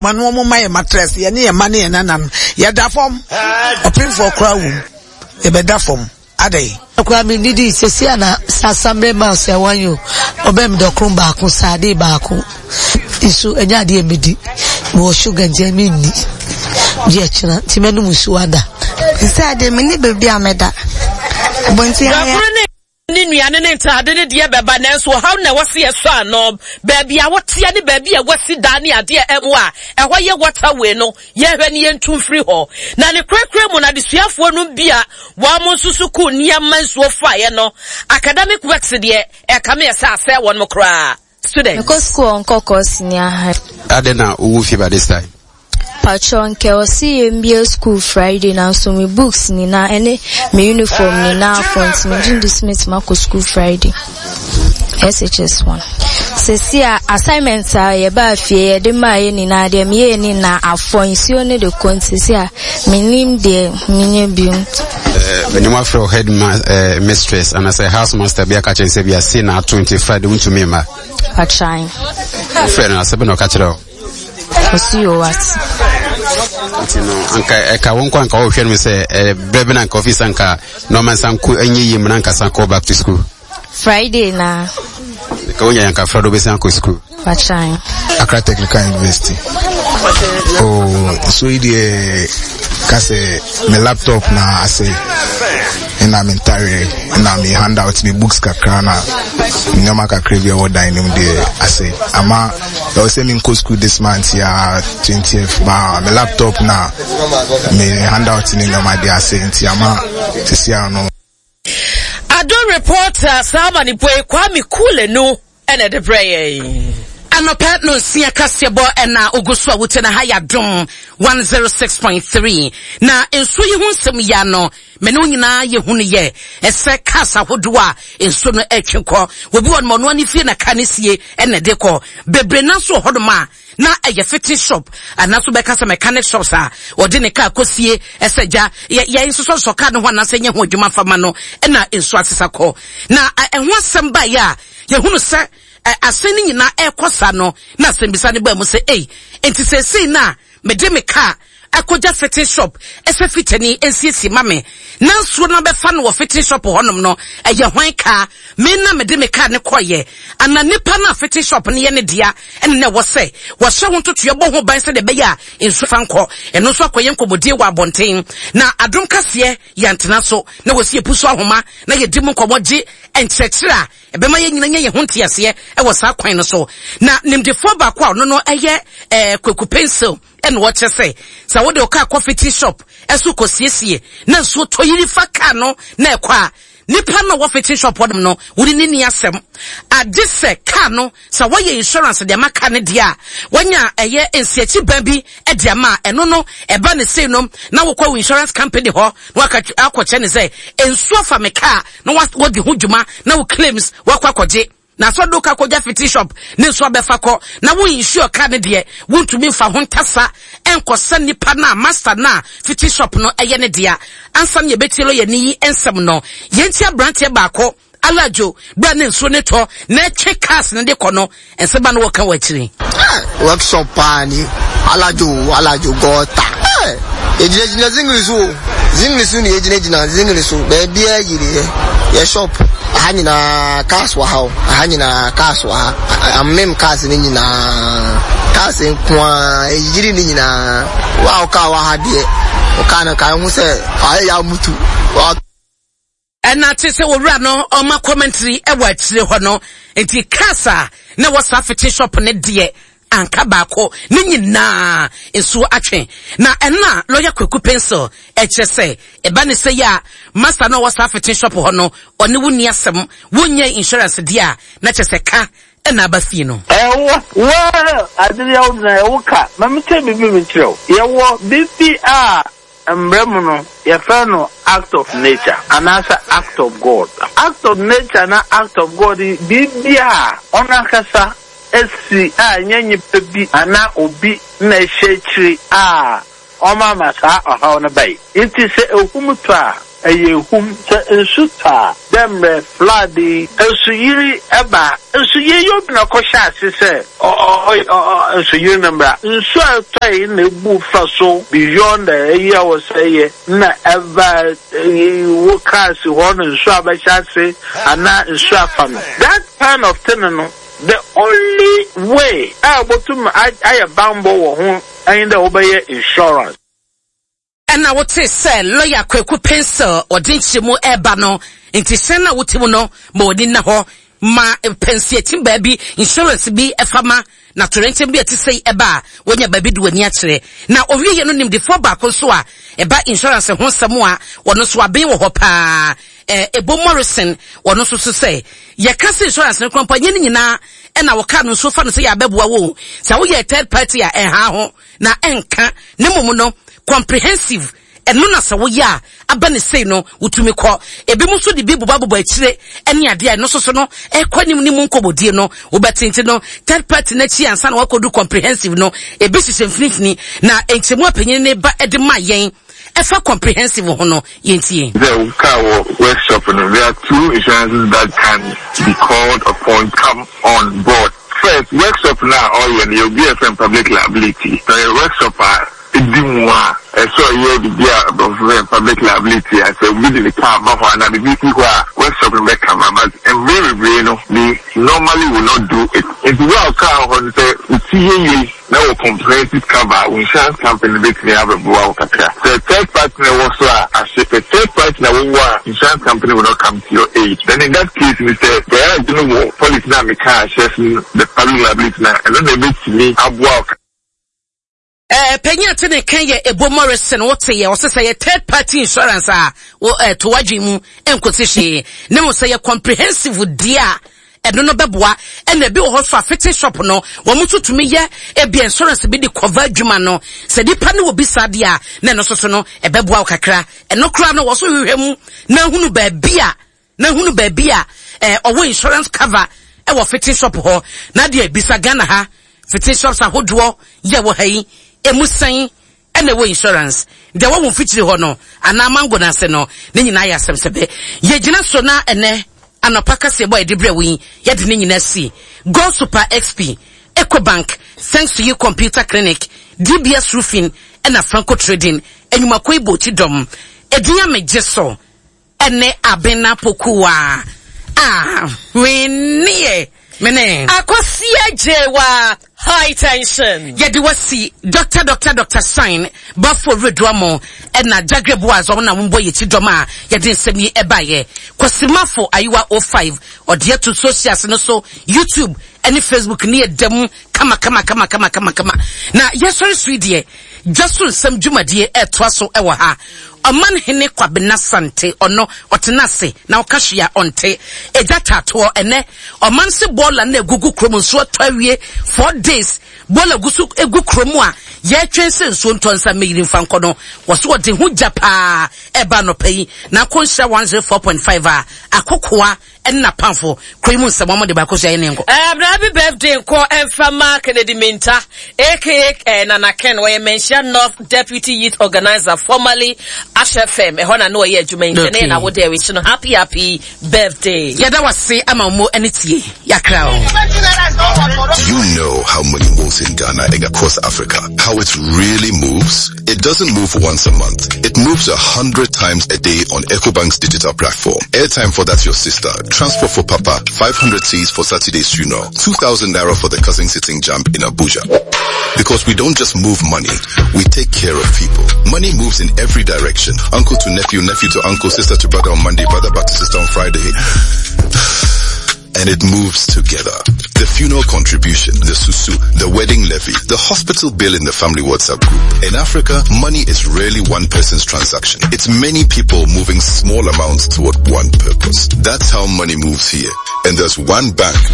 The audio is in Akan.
Ma no wɔn mma yɛn matress, yɛne yɛn mma ne yɛn nananom, yɛda fam. Ɔpemfoɔ koraa wom, yɛbɛda fam. Adɛn? Koraa me nidi sɛsi a na sasambre ma sɛ wɔn yo ɔbɛn mi dɔkron baako saade baako nso ɛnyɛ adeɛ mi di wɔ sugar nkyɛn mi nni gye ɛkyena nti mɛnum nsuo ada. Sɛ adeɛ mi ni baabi a mɛda. Abɔnten ayɛ. ne nnuane ne ntaade ne deɛ bɛba nanso ɔhaw na ɛwɔ se yɛsɔ ano baabi a woteɛ ne baabi a wasi dan ne adeɛ ɛmu a ɛhɔ yɛ waterway no yɛhwɛ ne yɛntu mfiri hɔ na ne korakora mu no adesuafoɔ no bi a wɔn nso sukuu nneɛma nsuo faeɛ no academic works deɛ ɛkame ɛsɛ asɛ wɔn koraa students. Mekɔ school ɔnkɔkɔ senior high. Adɛn na wowɔ fie by this time? Patrɔ nkɛ ɔse yɛmbie school Friday nanso me books nyinaa ɛne me uniform nyinaa afɔ nti megye ndi sɛ mɛtumi akɔ school Friday. SHS 1. Sɛsi a assignment a yɛbaa fie yɛde maa yɛ nyinaa deɛ meyɛɛ ne nyinaa afɔ nsuo ne de kɔ nti sɛsi a mennim deɛ menyɛ bio. Mene mo afrɛ head ma, eh, mistress anaasɛ house master bi aka kyerɛ sɛ bi ase na ato nti Friday wontumi mma. Atran. Wofrɛ no asɛ bɛ na ɔka kyerɛ wo? Ɔsi o wate. Nti no anka ɛka wo nkɔ anka wɔhwɛ no sɛ eh, berɛ bi na anka office anka na ɔma nsa nko ɛnyɛ yie mu na anka san kɔ back to school. Friday na. Ka wonya yanka Friday wobɛsan akɔ school. Atran. Accra Technical University. Oh, so yi deɛ ka sɛ me laptop na asɛe ɛna me ntareɛ ɛna me handout me books kakra na nneɛma kakra bi a ɛwɔ dan no mu deɛ asɛe ama ɛwɔ sɛ menkɔ school this month ya 20th ba me laptop na me handout ne nneɛma deɛ asɛe nti ama sisi ano. Adom reporter saa amanebɔ yi Kwame Kulenu ɛna ɛde brɛ yɛn. Anɔpa nonsia kaseɛbɔ ɛna ogu so a wotie na ha yɛ Adom 106.3 na nsuo yi ho nsɛm yi ano me ne wo nyinaa yɛhunu yɛ ɛsɛ cars ahodoɔ a nsuo no ɛtwe kɔ obi wɔ nom ɔno ani fie na car no sie ɛna ɛde kɔ bebree nanso wɔ hɔnom a na ɛyɛ fitting shop anaso bɛka sɛ mechanic shops a ɔde ne kaa kɔsie ɛsɛ gya yɛn nsosɔsosɔ kaa no ho anaasɛ nyɛ ho adwuma fa ma no ɛna nsuo asesa kɔ na ɛho asɛm baeɛ a yɛhunu sɛ asɛm no nyinaa ɛrekɔ saa no na asɛmbisa no baa mu sɛ ei nti seesei no a mede me kaa akɔgya fitting shop sɛ fitani nsiesie ma me na nsuo no abɛfa no wɔ fitting shop hɔnom no, ɛyɛ hwan kaa? Me na mede me kaa no kɔeɛ anaa nipa no a fitting shop no yɛ ne dea ɛna na ɛwɔ sɛ wɔhyɛ ho ntotoeɛ bɔ ho ban sɛdeɛ ɛbɛyɛ a nsuo fa nkɔ? Ɛno nso akɔyɛ nkɔmmɔdie wɔ abɔnten. Na adom kaseɛ yɛantena so na wɔsi yɛpu so ahoma na yɛdi mu nkɔmmɔ gye nkyerɛkyerɛ a ɛbɛma yɛn nyina nya yɛn ho nteaseɛ wɔ saa kwan no so. Na nimdefoɔ baako a ɔno no yɛ eh, Kwaku Pencil Ɛna ɔkyerɛ sɛ, sɛ wode wo kaa kɔ fitting shop so kɔsiesie na nsuo tɔ yiri fa kaa no na ɛkɔ a, nipa no a ɔwɔ fitting shop hɔnom no, wo ne no nni asɛm. Agye sɛ kaa no, sɛ wɔyɛ insurance de ama kaa no deɛ a, wɔanya ɛyɛ nsiakyi ban bi de ama a, ɛno no, ɛba ne sei no, na wokɔ wo insurance company hɔ na waka akɔkyerɛ no sɛ, nsuo afa me kaa na wɔdi ho dwuma na wo claims wakɔ akɔgye. Na sɛ ɔde wo ka kɔgya fitting shop ne nso abɛfa kɔ na wo insure car no deɛ, wontumi mfa ho ntasa nkɔsa nipa no a master no a fitting shop no yɛ ne dea. Ansa na yɛbɛtie lɔyani yi nsɛm no, yɛntie aberanteɛ baako, Alajo, berɛ a na nsuo no retɔ na ɛtwe cars no de kɔ no, nsɛm a na wɔka wɔ akyiri. Eh, workshop paa ni Alajo Alajo gɔta. Eh, yɛgyinagyina zingiri so o. Zingiri so na yɛgyinagyina zingiri so. Baabiara yiri yɛ. Yɛ shop aha nyinaa cars wɔ ha o. Aha nyinaa cars wɔ ha. Amem cars no nyinaa. Cars nko ara yiri ne nyinaa. Wo a wo car wɔ ha deɛ, wo car no ka ho sɛ ayɛ yɛ amutu. Ɛna te sɛ owura no ɔma commentary wɔ akyire hɔ no nti cars a na ɛwɔ saa fitting shop no deɛ anka baako ne nyinaa nsuo atwe na ɛna lawyer Kwaku Pencil ɛkyerɛ sɛ ɛba ne sɛ yɛ a master no ɔwɔ saa fitting shop hɔ no ɔne wo nni asɛm wonyɛ insurance deɛ a na kyerɛ sɛ ka ɛna aba fie no. Ɛwɔ well ade yɛ wo na ɛwo ka ma me kyɛ biribi me kyerɛ wo yɛwɔ biribi a Mbra mu no, yɛfrɛ no act of nature anaasɛ act of God. Act of nature na act of God yi, biribi a ɔnoankasa si a nnyɛ nyimpa bi anaa obi na ehyɛ ekyir a ɔma ma saa ɔhaw no bae. Ntsi sɛ ehum tɔ a. Ɛyɛ ehum. Sɛ nsu tɔ a, dɛ mbrɛ flood yi, nsuyiri ba a, nsuyiri yi obi na ɔkɔhyɛ ase sɛ ɔ nsuyiri no mbra. Nsu a etɔe na ebu fa so beyond eyi a ɔwɔ sɛ eyɛ na ɛba wo car si hɔ na nsu abɛhyɛ ase anaa nsu afa no. That kind of thing no, the only way a obotum ayɛ bambɔ wɔ ho nye dɛ wobɛyɛ insurance. Ɛna wotee sɛ lɔya Kwaku Pencil ɔde nkyerɛmu reba no nti hyɛn no a wote mu no ma w'ani nna hɔ ma pɛnsiakyim baabi, insurance bi fa ma na toyerɛnkyɛm bi a ɛte sei ɛba a woanya baabi de w'ani akyerɛ. Na ɔwieɛ no nimdefoɔ baako nso a ɛba insurance ho nsɛm a ɔno nso aben wɔ hɔ paa Ebo Morrison ɔno nso so sɛ yɛka sɛ insurance no koraa mpo ɛnyɛ ne nyinaa ɛna wɔka no nso fa no sɛ yɛ abɛboa wo o. Sɛ woyɛ third party a ɛnha ho. na ɛnka, na mmom no comprehensive, ɛno na sɛ woyɛ a aba ne sei no wotumi kɔ. Ebinom nso de bi bobɔbobɔ akyire ne adeɛ a ɛno nso so no ɛkɔ anim ne mu nkɔmmɔdie no wobɛte nti no third party no akyi ansa na wakɔdu comprehensive no ebi hyehyɛ mfinimfini na nkyɛmu a panyin no ba de ma yɛn ɛfa comprehensive ho no yɛntie. Sɛ wo car wɔ workshop no, there are two insurances that can be called upon come on board. First, workshop no a ɔyɛ no yɛ obi a yɛfrɛ no public liability. Sɛ ɔyɛ workshop a edi mu a, ɛsɛ ɔyɛ biribi a aborɔfo frɛ no public liability a sɛ obi de ne car ba hɔ anaa biribi si hɔ a, workshop no bɛ cover. But mber bebree no, they normally will not do it. Nti wo a wo car wɔ hɔ no, sɛ wo ti yɛ yie na wɔ comprehensive cover a, wo insurance company no betumi abɛboa wo kakra. Sɛ third party na ɛwɔ so a, ahye. Sɛ third party na wowɔ a, insurance company will not come to your aid. Then in that case no, sɛ garage no wɔ policy no a mekaa ahyɛse no, the public liability no a, ɛno na ɛbɛtumi aboa wo. Eh, panyin a te ne kan yɛ Ebo Morrison, wote yɛ, ɔse sɛ yɛ third party insurance a, wo, eh, to w'adwene mu nkosi hwee. Ne mo sɛ yɛ comprehensive deɛ a, ɛno no bɛboa. Ɛna ebi wɔ hɔ nso a fitting shop no, wɔn nso tumi yɛ ebi insurance bi de cover adwuma no. Sɛ nipa no wɔ bi saa deɛ a, na ɛno nso so no, ɛbɛboa wo kakra. Ɛno koraa no, wɔso hwehwɛ mu na hunu baabi a, na hunu baabi a eh, ɔwɔ insurance cover ɛwɔ fitting shop hɔ. Na deɛ bisa Ghana ha, fitting shops ahodoɔ yɛ wɔ ha yi, emu sɛn ɛna ɛwɔ insurance. Deɛ ɛwɔ wo mfikyiri hɔ no anaa mango no ase no, ne nyinaa yɛ asɛm sɛbɛ. Yɛgyina so na ɛnɛ anɔpa kaseɛbɔ a yɛde brɛ wo yi, yɛde ne nyinaa si Gold Super XP, Ecobank, Thanks to You Computer Clinic, DBS Roofing ɛna Franco Trading, Anwumakuo yi bɔ akyi dɔm. Edin a megye so Ɛne Abena Pokuwa a hweneɛ mene. Akosua Gyewa high tension. Yɛde wasi Doctor Doctor Doctor Shine Bafo Reduamo ɛna Jagre Boaz wɔn na wɔn bɔ yɛkyi dɔm a yɛde nsɛm yi ɛbaeɛ. Kwasimafo Ayiwa 05 ɔde ato socials no so YouTube ɛne Facebook ne yɛ da mu kama kama kama kama kama kama. Na yɛsɔre so yi deɛ dwa so nsɛm dwumadie ɛtoa so ɛwɔ ha. Ɔman hene Kwabena Sante ɔno ɔtena ase na ɔka hwee a ɔnte. Egya taatoɔ ɛnɛ ɔman se bɔɔla na egugu kurom nsuo atɔ awie 4 days bɔɔla gu so egu kurom a yɛtwɛn sɛ nsuo ntɔ nsa mmeyiri mfa nkɔ no wɔso wɔde ho gya paa ɛba anɔpa yi na akɔ nhyira 104.5 a akokoa ɛne n'apamfo kuro yi mu nsɛm wɔn de baako so ɛyɛ ne nkɔ. Ɛɛ happy birthday nkɔ ɛnfa ma Kennedy Minta aka eh, Nana Ken wɔyɛ Manhyia North Deputy Youth Organizer formerly Ash FM ɛhɔ na ne ɔyɛ adwuma yi nkyɛn ne yɛ na wode ɛwehye no happy happy birthday. Yɛda wase ama wo ɛne tie yakra o. Do you know how money moves in Ghana and across Africa? How it really moves? It doesn't move once a month. It moves 100 times a day on EcoBank's digital platform. Airtime for that's your sister, transport for papa, 500 C's for Saturday's funeral, 2,000 naira for the cousin sitting jump in Abuja. Because we don't just move money, we take care of people. Money moves in every direction. Uncle to nephew, nephew to uncle, sister to brother on Monday, brother back to sister on Friday. And it moves together. The funeral contribution, the susu, the wedding levy, the hospital bill in the family WhatsApp group. In Africa, money is rarely one person's transaction. It's many people moving small amounts toward one purpose. That's how money moves here. And there's one bank